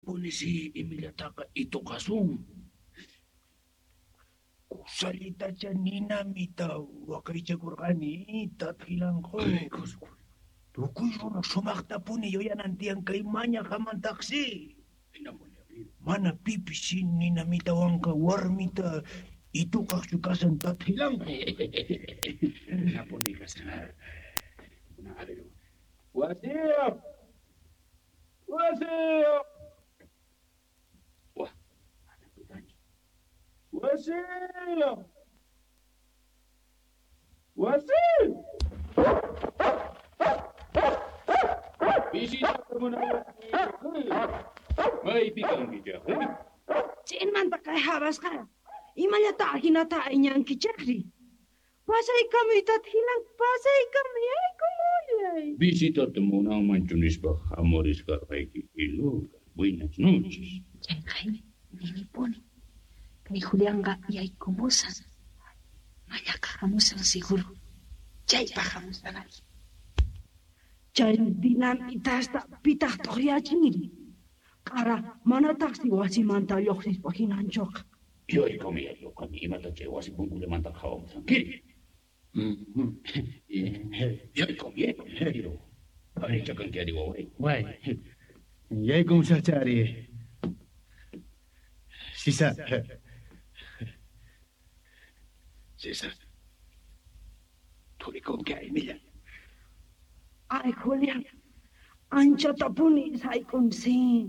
Punisi imillataqa ituqasun. Kusallitacha ninamita waqaychakurqani tatqilanqu. Tukuy runa sumaqtapuni yuyanan tiyan kay mañaqamantaqsi. Mana pipis ninamitawanqa warmita ituqaqchu kasan tatqilanqu. Napuni kasan. A ver. Wasiyuq! Wasiyuq! Wah, mana pitanchu. Wasiyuq! Wasiyuq! Visitata munayki. Maypi kankichaq? Ch'inmanta kay habasqa imallata ahinata ayñankichaqri. Pasaykamuy tathilan, pasaykamuy, yaykumullay. Visitata munanmanchu nispa hamurisqarqayki Iluka. Buenas noches. Chayqay ninipuni. Kay Julianqa yaykumusan. Mallaqa hamusan seguro. Chaypaq hamusan ari. Chay dinamitasta pitaq t'uqyachinri. Q'ara manataqsi wasimanta lluqsispa hinanchuqa. Yaykumuy Iluka, imata chay wasi punkullamanta qhawamusankiri. Yaykumuy, yaykumuy. Parichakanki ari waway. Way. Yaykumusaqchari. Sisa. César. Thurikunki aymilla. Ay, Julián, anchatapuni sayk'unsi.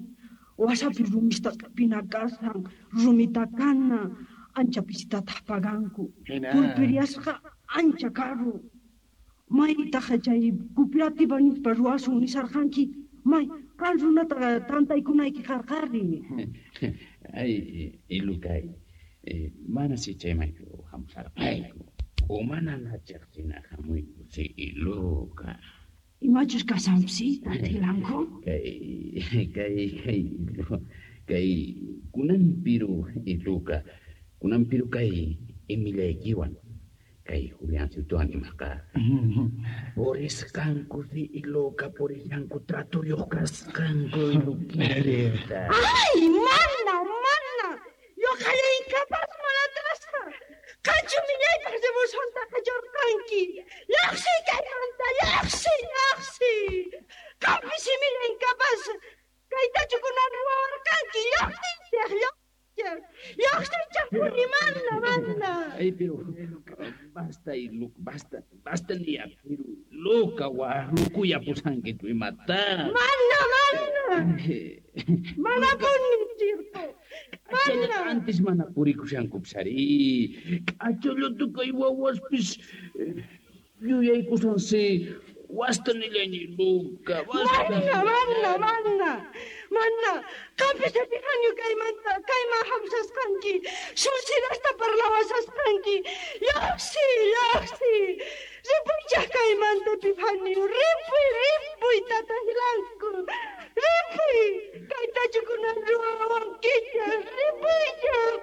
Wasapi rumista q'ipina kasan, rumita kana, ancha pisitataq paganku. Hina. Pulpiriasqa ancha karu. Maytaq chay cooperativa nispa ruwasun nisarqanki, may qan runata tantaykunayki qarqari. Ay, Ilukay, mana si chaymanchu hamusarqayku. Umana nachiqsina hamuyku si Iluka. Imachus kasanpsi, tathilanku? Kay, kay, kay, kay, kunanpiru Iluka, kunanpiru kay imillaykiwan, kay Juliancitowan imaqa. Purisqanku si Iluka, purisqanku tratuyuq kasqanku Ilukita. Ay, mana, mana, ñuqalla incapaz mana atrasqa. Qanchu millaypaq rebozonta qachurqanki. Lluqsiy kaymanta, lluqsiy, lluqsiy. Qampis imilla incapaz. Kaytachu kunan ruwawarqanki, lluqsiychaq, lluqsiychaq. Lluqsiychaq puni, mana, mana. Ay, pero basta, Iluka, basta, basta niya, pero Luka, waqlukuyapusankichu imata. Mana, mana. Mana puni, chirpo. Mana. Antes mana purikushankupis ari. K'achallutu kay wawaspis yuyaykusansi wasta nillayni Luka, basta. Mana, mana, mana. Mana. Qampis atiqanyu kaymanta, kayman hamusasqanki. Sulsirasta parlawasasqanki. Lluqsiy, lluqsiy. Ripuychaq kaymanta, Epifanio. Ripuy,